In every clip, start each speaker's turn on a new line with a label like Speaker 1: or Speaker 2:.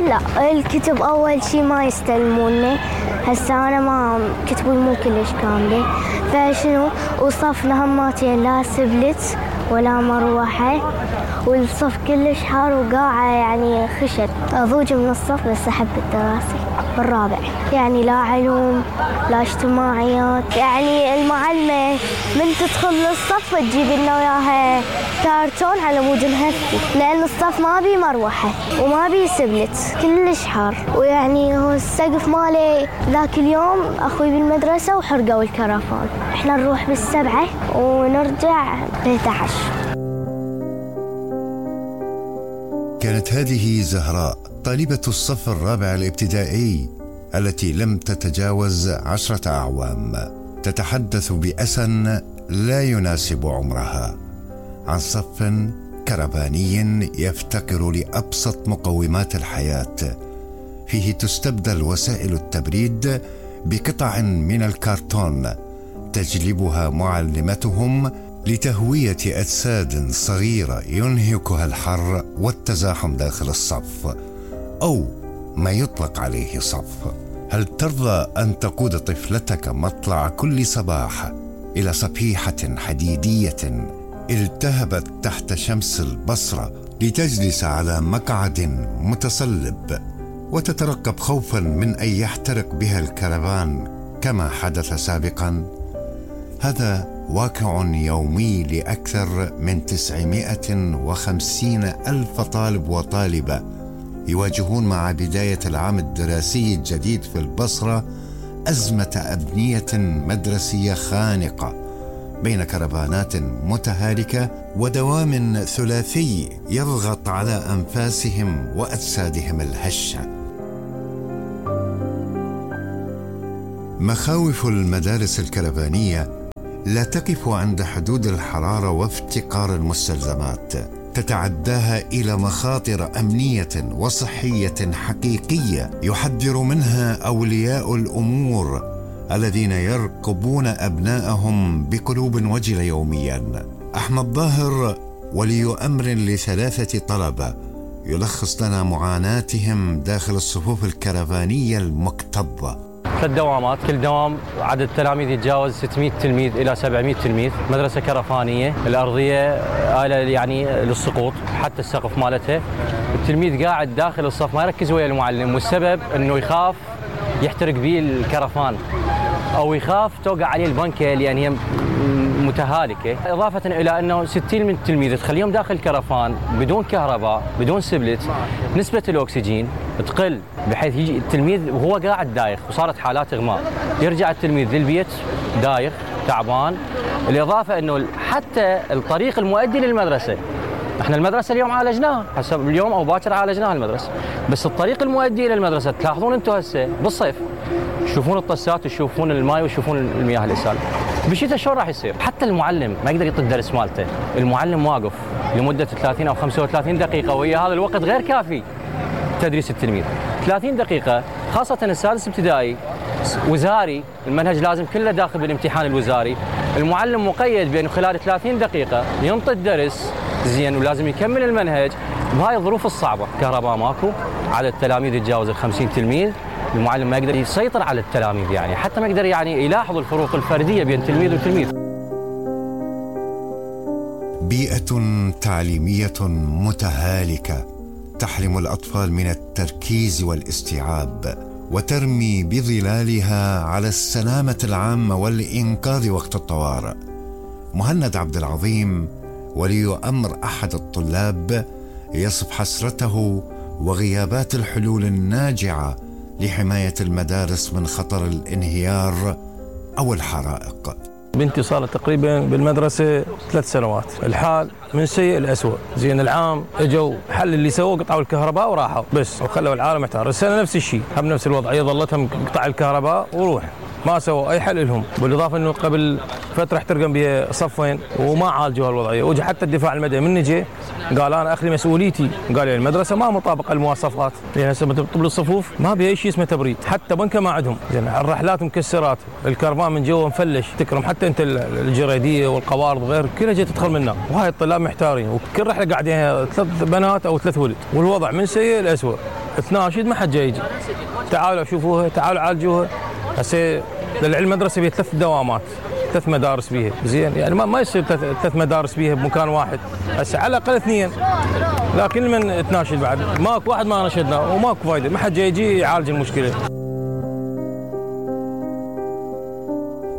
Speaker 1: لا، الكتب أول شي ما يستلموني. هسه أنا ما كتبي مو كلش كاملة، فشنو وصفنا هماتين لا سبلت ولا مروحة، والصف كلش حار وقاعة يعني خشت. أضوج من الصف بس أحب الدراسة بالرابع، يعني لا علوم لا اجتماعيات. يعني المعلمة من تدخل للصف تجيب لنا وياها كارتون على مود نهفي، لأن الصف ما بي مروحة وما بي سبلت كلش حار. ويعني هو السقف مالي ذاك اليوم أخوي بالمدرسة وحرقوا الكرفان. إحنا نروح بالسبعة ونرجع ب11.
Speaker 2: كانت هذه زهراء طالبة الصف الرابع الابتدائي التي لم تتجاوز 10 أعوام، تتحدث بأسى لا يناسب عمرها عن صف كرفاني يفتقر لأبسط مقومات الحياة، فيه تستبدل وسائل التبريد بقطع من الكرتون تجلبها معلمتهم لتهوية أجساد صغيرة ينهكها الحر والتزاحم داخل الصف أو ما يطلق عليه صف. هل ترضى أن تقود طفلتك مطلع كل صباح إلى صفيحة حديدية التهبت تحت شمس البصرة لتجلس على مقعد متصلب وتترقب خوفا من أن يحترق بها الكرفان كما حدث سابقا؟ هذا واقع يومي لأكثر من 950 ألف طالب وطالبة يواجهون مع بداية العام الدراسي الجديد في البصرة أزمة أبنية مدرسية خانقة بين كرفانات متهالكة ودوام ثلاثي يضغط على أنفاسهم وأجسادهم الهشة. مخاوف المدارس الكرفانية لا تقف عند حدود الحرارة وافتقار المستلزمات، تتعداها إلى مخاطر أمنية وصحية حقيقية يحذر منها أولياء الأمور الذين يرقبون أبنائهم بقلوب وجلة يوميا. أحمد ظاهر ولي أمر ل3 طلبة يلخص لنا معاناتهم داخل الصفوف الكرفانية المكتظة.
Speaker 3: 3 دوامات، كل دوام عدد تلاميذ يتجاوز 600 تلميذ إلى 700 تلميذ. مدرسة كرفانية، الأرضية آلة يعني للسقوط، حتى السقف مالتها. التلميذ قاعد داخل الصف ما يركز ويا المعلم، والسبب أنه يخاف يحترق به الكرفان أو يخاف توقع عليه البنكة لأن هي متهالكة، إضافة إلى أنه 60 من التلميذ تخليهم داخل الكرفان بدون كهرباء بدون سبلت، نسبة الأكسجين تقل بحيث يجي التلميذ وهو قاعد دايخ وصارت حالات إغماء، يرجع التلميذ للبيت دايخ تعبان. الإضافة أنه حتى الطريق المؤدي للمدرسة، احنا المدرسة اليوم عالجناها، حسب اليوم أو باكر عالجناها المدرسة، بس الطريق المؤدي إلى المدرسة تلاحظون أنتم هسه بالصيف تشوفون الطسات وتشوفون الماء وتشوفون المياه الإسالة. بالشتاء شلون راح يصير؟ حتى المعلم ما يقدر يعطي الدرس مالته، المعلم واقف لمدة 30 أو 35 دقيقة، وهي هذا الوقت غير كافي تدريس التلميذ. 30 دقيقة خاصة السادس ابتدائي وزاري، المنهج لازم كله داخل بالامتحان الوزاري، المعلم مقيد بأنه خلال 30 دقيقة ينطي الدرس زين ولازم يكمل المنهج بهاي الظروف الصعبة. كهرباء ماكو، عدد التلاميذ يتجاوز 50 تلميذ، المعلم ما يقدر يسيطر على التلاميذ، يعني حتى ما يقدر يعني يلاحظ الفروق الفردية بين تلميذ وتلميذ.
Speaker 2: بيئة تعليمية متهالكة تحرم الأطفال من التركيز والاستيعاب وترمي بظلالها على السلامة العامة والإنقاذ وقت الطوارئ. مهند عبد العظيم ولي أمر أحد الطلاب يصف حسرته وغيابات الحلول الناجعة لحماية المدارس من خطر الانهيار أو الحرائق.
Speaker 4: بنتي صارت تقريبا بالمدرسة 3 سنوات، الحال من سيء لأسوأ. زين العام اجوا حل اللي سووه، قطعوا الكهرباء وراحوا بس وخلوا العالم محتار. السنة نفس الشيء، هم نفس الوضعية، ظلتهم قطع الكهرباء وروح، ما سووا اي حل لهم. بالاضافه انه قبل فتره احترقن بها صفين وما عالجوا الوضعيه، وجا حتى الدفاع المدني من نجي قال انا اخلي مسؤوليتي، قال لي المدرسه ما مطابقه المواصفات، لان هسه طب الصفوف ما بها شيء اسمه تبريد، حتى بنكه ما عندهم، زين الرحلات مكسرات، الكرفان من جوا مفلش، تكرم حتى انت الجريديه والقوارض غير كلها جاي تدخل منها، وهاي الطلاب محتارين، وكل رحله قاعدين 3 بنات او 3 ولد، والوضع من سيء لاسوء. تناشد ما حد جاي يجي، تعالوا شوفوها، تعالوا عالجوها. هسه للعلم مدرسه بها 3 دوامات، 3 مدارس بيها، زين يعني ما يصير 3 مدارس بيها بمكان واحد، هسه على الاقل 2. لكن من تناشد بعد ماكو واحد ما نشدنا وماكو فايده، ما حد جاي يجي يعالج المشكله.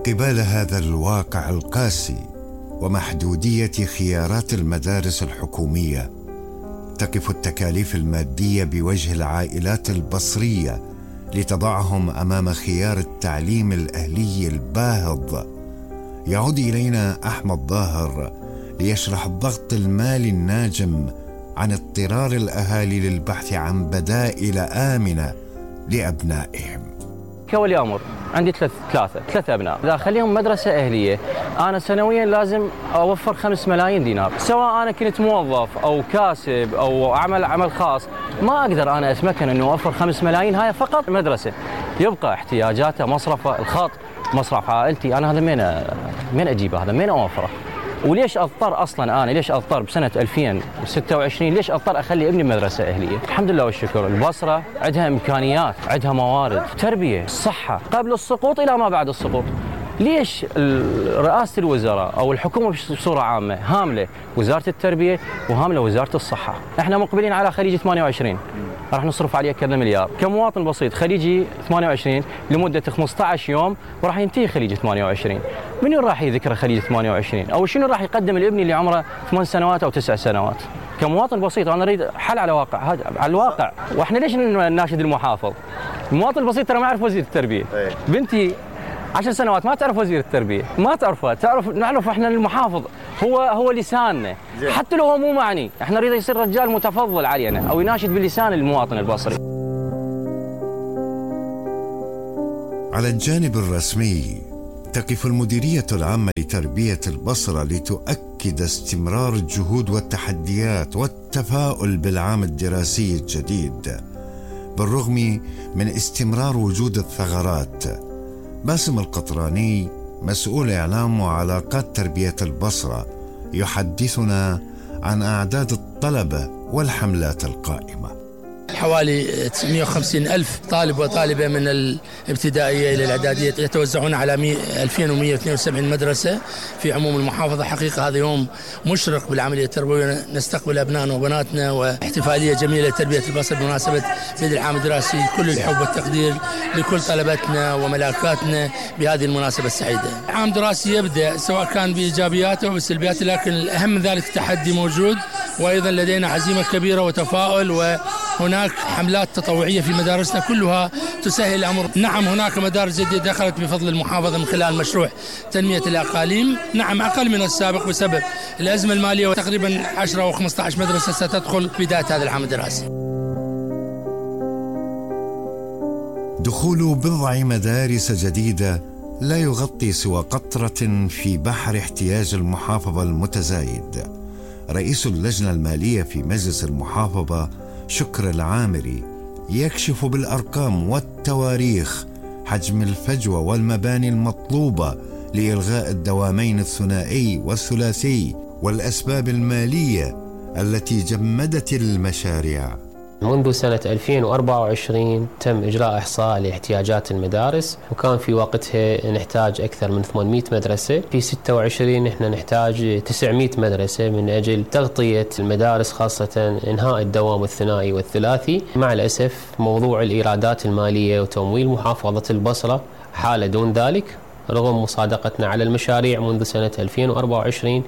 Speaker 2: قبال هذا الواقع القاسي ومحدودية خيارات المدارس الحكومية، تقف التكاليف المادية بوجه العائلات البصرية لتضعهم أمام خيار التعليم الأهلي الباهظ. يعود إلينا أحمد ظاهر ليشرح الضغط المالي الناجم عن اضطرار الأهالي للبحث عن بدائل آمنة لأبنائهم.
Speaker 3: كولي أمر عندي ثلاثة أبناء، إذا أخليهم مدرسة أهلية أنا سنويا لازم أوفر 5 ملايين دينار، سواء أنا كنت موظف أو كاسب أو أعمل عمل خاص، ما أقدر أنا أتمكن أنه أوفر 5 ملايين هاي فقط مدرسة. يبقى احتياجاته، مصرفه، الخط، مصرف عائلتي، أنا هذا من أجيبه، هذا من أوفره؟ وليش اضطر اصلا انا ليش اضطر بسنه 2026 ليش اضطر اخلي ابني بمدرسه اهليه؟ الحمد لله والشكر البصره عندها امكانيات، عندها موارد، تربيه، صحه قبل السقوط الى ما بعد السقوط. ليش رئاسه الوزراء او الحكومه بصوره عامه هامله وزاره التربيه وهامله وزاره الصحه؟ احنا مقبلين على خليج 28 راح نصرف عليه كذا مليار، كمواطن بسيط خليجي 28 لمده 15 يوم وراح ينتهي خليج 28. منو راح يذكر خليج 28 او شنو راح يقدم لابني اللي عمره 8 سنوات او 9 سنوات؟ كمواطن بسيط انا اريد حل على واقع، هذا على الواقع. واحنا ليش نناشد المحافظ؟ المواطن البسيط ترى ما يعرف وزير التربيه. بنتي 10 سنوات ما تعرف وزير التربيه، ما تعرفه، نعرف احنا المحافظ هو لساننا، حتى لو هو مو معني، احنا نريد يصير رجال متفضل علينا او يناشد بلسان المواطن البصري.
Speaker 2: على الجانب الرسمي تقف المديرية العامة لتربية البصرة لتؤكد استمرار الجهود والتحديات والتفاؤل بالعام الدراسي الجديد بالرغم من استمرار وجود الثغرات. باسم القطراني مسؤول إعلام وعلاقات تربية البصرة يحدثنا عن أعداد الطلبة والحملات القائمة.
Speaker 5: حوالي 950 ألف طالب وطالبة من الابتدائية إلى الإعدادية يتوزعون على 2172 مدرسة في عموم المحافظة. حقيقة هذا يوم مشرق بالعملية التربوية، نستقبل أبنائنا وبناتنا واحتفالية جميلة لتربية البصر بمناسبة بدء العام الدراسي. كل الحب والتقدير لكل طلبتنا وملاكاتنا بهذه المناسبة السعيدة. عام دراسي يبدأ سواء كان بإيجابياته أو بسلبياته، لكن الأهم من ذلك التحدي موجود، وأيضا لدينا عزيمة كبيرة وتفاؤل، وهناك حملات تطوعية في مدارسنا كلها تسهل الأمر. نعم هناك مدارس جديدة دخلت بفضل المحافظة من خلال مشروع تنمية الأقاليم، نعم أقل من السابق بسبب الأزمة المالية، وتقريبا 10 أو 15 مدرسة ستدخل بداية هذا العام الدراسي.
Speaker 2: دخول بضع مدارس جديدة لا يغطي سوى قطرة في بحر احتياج المحافظة المتزايد. رئيس اللجنة المالية في مجلس المحافظة شكر العامري يكشف بالأرقام والتواريخ حجم الفجوة والمباني المطلوبة لإلغاء الدوامين الثنائي والثلاثي والأسباب المالية التي جمدت المشاريع.
Speaker 6: منذ سنة 2024 تم إجراء إحصاء لاحتياجات المدارس، وكان في وقتها نحتاج أكثر من 800 مدرسة. في 26 نحن نحتاج 900 مدرسة من أجل تغطية المدارس، خاصة إنهاء الدوام الثنائي والثلاثي. مع الأسف موضوع الإيرادات المالية وتمويل محافظة البصرة حالة دون ذلك، رغم مصادقتنا على المشاريع منذ سنة 2024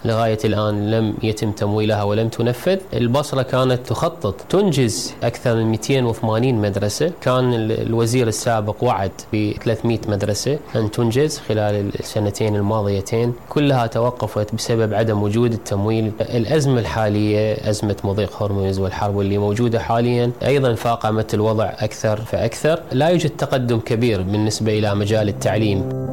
Speaker 6: لغاية الآن لم يتم تمويلها ولم تنفذ. البصرة كانت تخطط تنجز أكثر من 280 مدرسة، كان الوزير السابق وعد ب 300 مدرسة أن تنجز خلال السنتين الماضيتين، كلها توقفت بسبب عدم وجود التمويل. الأزمة الحالية أزمة مضيق هرمز والحرب اللي موجودة حاليا أيضا فاقمت الوضع أكثر فأكثر. لا يوجد تقدم كبير بالنسبة إلى مجال التعليم.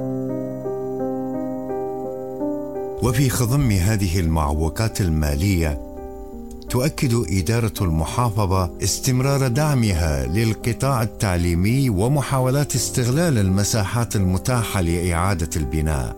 Speaker 2: وفي خضم هذه المعوقات المالية تؤكد إدارة المحافظة استمرار دعمها للقطاع التعليمي ومحاولات استغلال المساحات المتاحة لإعادة البناء.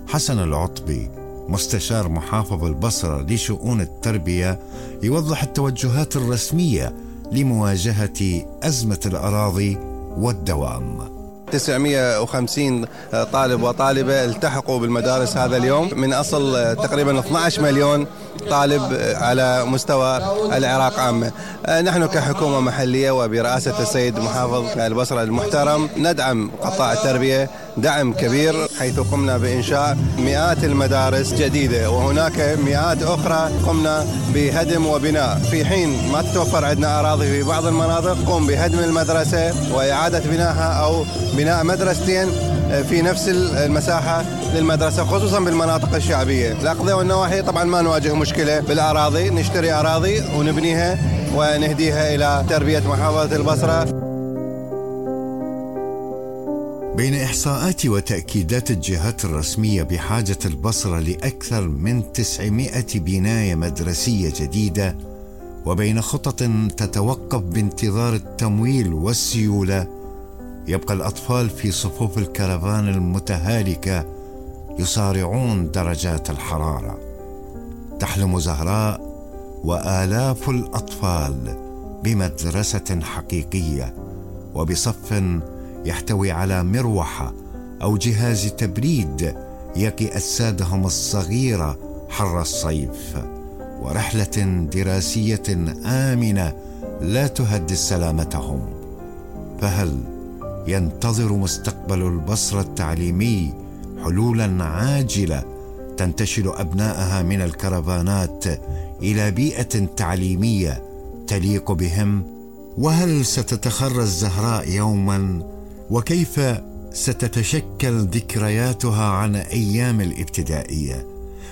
Speaker 2: حسن العطبي مستشار محافظ البصرة لشؤون التربية يوضح التوجهات الرسمية لمواجهة أزمة الأراضي والدوام.
Speaker 7: 950 طالب وطالبة التحقوا بالمدارس هذا اليوم من أصل تقريبا 12 مليون طالب على مستوى العراق عامة. نحن كحكومة محلية وبرئاسة السيد محافظ البصرة المحترم ندعم قطاع التربية دعم كبير، حيث قمنا بإنشاء مئات المدارس جديدة، وهناك مئات أخرى قمنا بهدم وبناء. في حين ما تتوفر عندنا أراضي في بعض المناطق قم بهدم المدرسة وإعادة بنائها أو بناء مدرستين في نفس المساحة للمدرسة، خصوصا بالمناطق الشعبية. الأقضية والنواحي طبعا ما نواجه مشكلة بالأراضي، نشتري أراضي ونبنيها ونهديها إلى تربية محافظة البصرة.
Speaker 2: بين إحصاءات وتأكيدات الجهات الرسمية بحاجة البصرة لأكثر من 900 بناية مدرسية جديدة، وبين خطط تتوقف بانتظار التمويل والسيولة، يبقى الأطفال في صفوف الكرفان المتهالكة يصارعون درجات الحرارة. تحلم زهراء وآلاف الأطفال بمدرسة حقيقية وبصف يحتوي على مروحة أو جهاز تبريد يقي أجسادهم الصغيرة حر الصيف، ورحلة دراسية آمنة لا تهدد سلامتهم. فهل ينتظر مستقبل البصرة التعليمي حلولا عاجلة تنتشل أبنائها من الكرفانات إلى بيئة تعليمية تليق بهم؟ وهل ستتخرج زهراء يوما؟ وكيف ستتشكل ذكرياتها عن أيام الابتدائية؟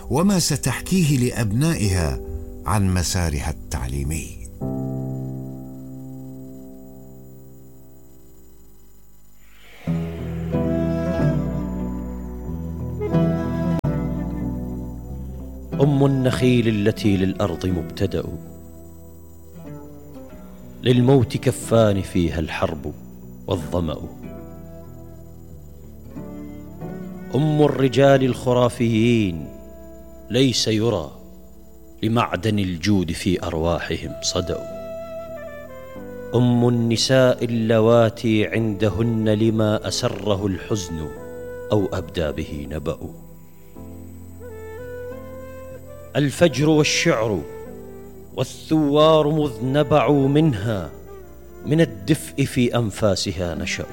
Speaker 2: وما ستحكيه لأبنائها عن مسارها التعليمي؟
Speaker 8: أم النخيل التي للأرض مبتدأ، للموت كفان فيها الحرب والظمأ. أم الرجال الخرافيين ليس يرى لمعدن الجود في أرواحهم صدأ. أم النساء اللواتي عندهن لما أسره الحزن أو أبدى به نبأ. الفجر والشعر والثوار مذ نبعوا منها من الدفء في أنفاسها نشأوا.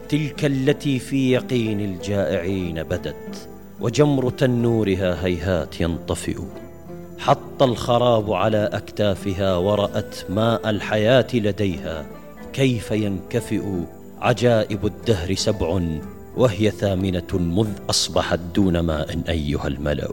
Speaker 8: تلك التي في يقين الجائعين بدت وجمر تنورها هيهات ينطفئ. حط الخراب على أكتافها ورأت ماء الحياة لديها كيف ينكفئ. عجائب الدهر 7 وهي 8 مذ أصبحت دون ماء أيها الملأ.